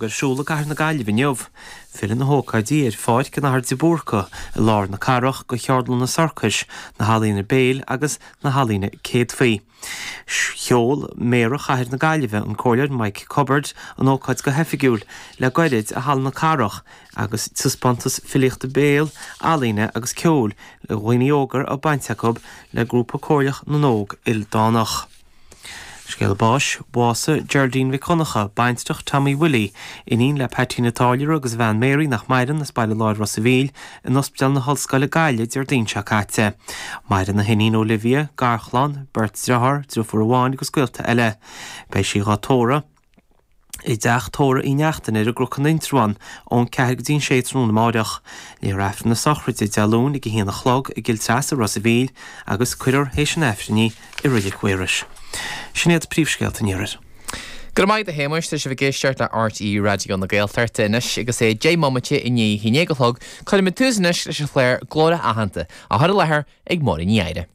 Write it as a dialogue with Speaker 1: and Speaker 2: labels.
Speaker 1: Ar siúl i gCathair na Gaillimhe inniu. Filleadh na hócáidí ar Pháirc an Athar de Búrca i lár na cathrach do cheardlanna sorcais, na healaíona béil agus na healaíona céadfaí. Sheol Méara Chathair na Gaillimhe, an Comhairleoir Mike Cubbard, an ócáid go hoifigiúil le gairid i Halla na Cathrach agus taispeántas filíochta béil, ealaíne agus ceoil le dhaoine óga a baint acu le Grúpa Comhairleach na nÓg Ildánach. Scéala báis, Bhásaigh Geraldine Mhic Dhonncha, baintreach Tommy Willie, iníon le Peaitín an Táilliúra agus a bhean Mary nach maireann, as Baile Láir Ros a' Mhíl, in Ospidéal na hOllscoile Gaillimh Déardaoin seo caite. Maireann a hiníon Olivia, garchlann, beirt driotháir, driofúr amháin agus gaolta eile. Beidh sí dhá tórramh. i dTeach Tórraimh Uí Neachtain ar an gCnoc in Indreabhán ón 4 go dtí an 6 tráthnóna amáireach. Léifear Aifreann na sochraide Dé Luain ag 1 a chlog i gCill Treasa, Ros a' Mhíl agus cuirfear théis an Aifrinn í i Reilig Mhaorais. Sin iad príomhscéalta an iarthair.
Speaker 2: Go raibh maith agat a Shéamuis, tá sibh ag éisteacht le RTÉ Raidió na Gaeltachta anois agus é 10 mbomaite i ndiaidh a haon déag a chlog. Cuirfimid tús anois leis an chlár Glórtha Aitheanta, á chur i láthair ag Máirín Ní Eadhra.